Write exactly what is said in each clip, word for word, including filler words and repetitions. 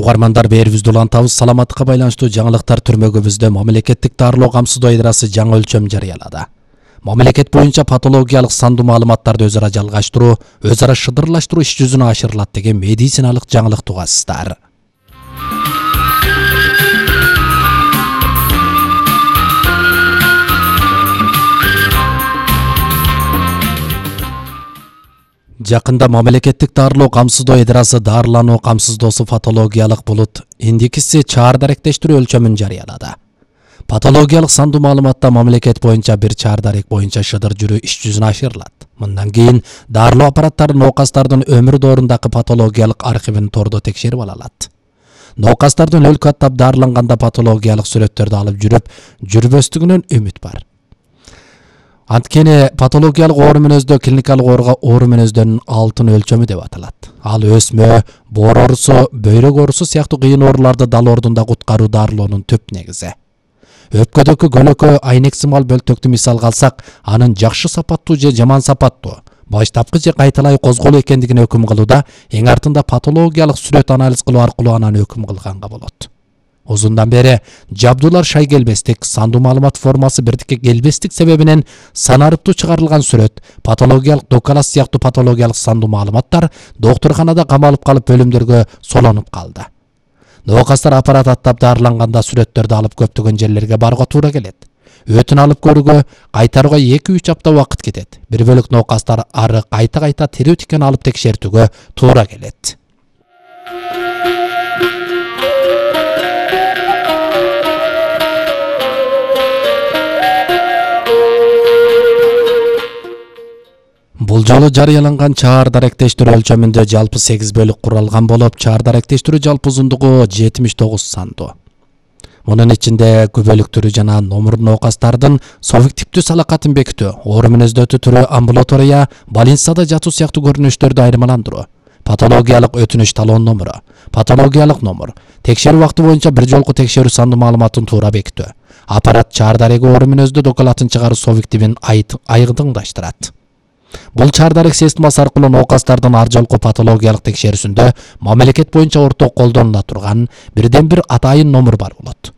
Угармандар берибизди улантабыз. Саламаттыкка байланыштуу жаңылыктар түрмөгүбүздө мамлекеттик дарылоо камсыздоо идарасы жаңы өлчөм жарыялады. Мамлекет боюнча патологиялык сандуу маалыматтарды өз ара жалгаштыруу, өз ара шыдырлаштыруу иш жүзүнө ашырылат деген медициналык жаңылык тугасыздар. Жакында мамлекеттик дарылоо камсыздоо идарасы дарылануу камсыздоосу патологиялык булут индекси чаар даректештирүү өлчөмүн жарыялады. Патологиялык сандуу маалыматта мамлекет боюнча бир чаар дарек боюнча шыдыр жүрүү иш жүзүнө ашырылат. Мындан кийин дарылоо аппараттары ноокастардын өмүр доорундагы патологиялык архивин тордо текшерип ала алат. Ноокастардын өлкө аттап дарыланганда патологиялык сүрөттөрдү алып жүрүп жүрбөстүгүнөн үмүт бар. Анткени патологиялык оору мүнөздө клиникалык ооруга оору мүнөздөрүнүн алтын өлчөмү деп аталат. Ал өсмө, боор оорусу, бөйрөк оорусу сыяктуу кыйын ооруларды дал ордунда куткаруу дарылоонун түп негизи. Өпкөдөгү көлөкө айнек сымал бөлтөктү мисалга алсак, анын жакшы сапаттуу же жаман сапаттуу, баштапкы же кайталай козголуу экендигине өкүм кылууда, эң артында патологиялык сүрөт анализ кылуу аркылуу анан өкүм кылганга болот. Озундан бери жабдуулар шай келбестик, сандуу маалымат формасы бирдикке келбестик себебинен санарыптуу чыгарылган сүрөт, патологиялык докалас сыяктуу патологиялык сандуу маалыматтар доктурканада камалып калып бөлүмдөргө солонуп калды. Ноокастар аппарат аттап дарыланганда сүрөттөрдү алып көптөгөн жерлерге барууга туура келет. Өтүн алып көрүүгө кайтарууга эки үч апта убакыт кетет. Бир бөлүк ноокастар ары кайта-кайта тирүү тикен алып текшертүүгө туура келет. Бул жолу жарыяланган чаар даректештирүү өлчөмүндө жалпы сегиз бөлүк куралган болуп, чаар даректештирүү жалпы узундугу жетимиш тогуз сандуу. Мунун ичинде күбөлүктүрү жана номур ноокастардын субъективдүү салакатын бекитүү, оору мүнөздөрдү түрү амбулатория, больницада жатуу сыяктуу көрүнүштөрдү айырмаландыруу, патологиялык өтүнүч талон номуру, патологиялык номур, текшерүү убакыты боюнча бир жолку текшерүү сандуу маалыматын туура бекитүү, аппарат чаар дареги оору мүнөздө докалатын чыгаруу субъективин айдыңдаштырат. Бул чаар дарек системасы аркылуу ноокастардын ар жолку патологиялык текшерүүсүндө мамлекет боюнча орток колдонула турган бирден бир атайын номур бар болот.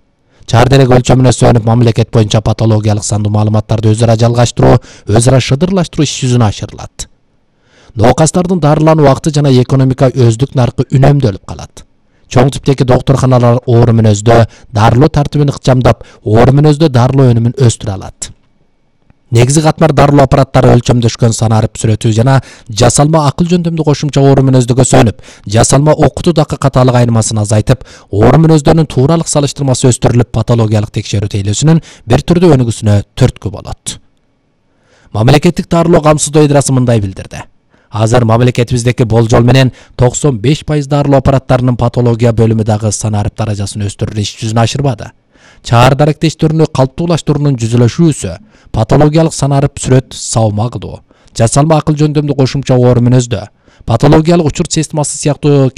Чаар дарек өлчөмүнө сүйөнүп мамлекет боюнча патологиялык сандуу маалыматтарды өз ара жалгаштыруу, өз ара шыдырлаштыруу иш жүзүнө ашырылат. Ноокастардын дарылануу убакыты жана экономика өздүк наркы үнөмдөлүп калат. Чоң типтеги доктурканалар оору мүнөздө дарылоо тартибин ыкчамдап, оору мүнөздө дарылоо өнүмүн өстүрө алат. Негизи катмар дарылоо аппараттары өлчөмдөшкөн санарып сүрөтүү жана жасалма акыл жөндөмдүү кошумча оору мүнөздөгө сөнүп, жасалма окутуудагы катаалык айырмасын азайтып, оору мүнөздөрүнүн тууралык салыштырмасы өстүрүлүп, патологиялык текшерүү тейлөөсүнүн бир түрдүү өнүгүүсүнө түрткү болот. Мамлекеттик дарылоо камсыздоо идарасы мындай билдирди. Азыр мамлекетибиздеки болжол менен токсон беш пайыз дарылоо аппараттарынын патология бөлүмү дагы санарып даражасын өстүрүү иш жүзүнө ашырбады. Чаар даректештирүүнү калыптуулаштыруунун жүзөлөшүүсү, патологиялык санарып сүрөт саама кылуу, жасалма акыл жөндөмдүү кошумча оору мүнөздө, патологиялык учур системасы сыяктуу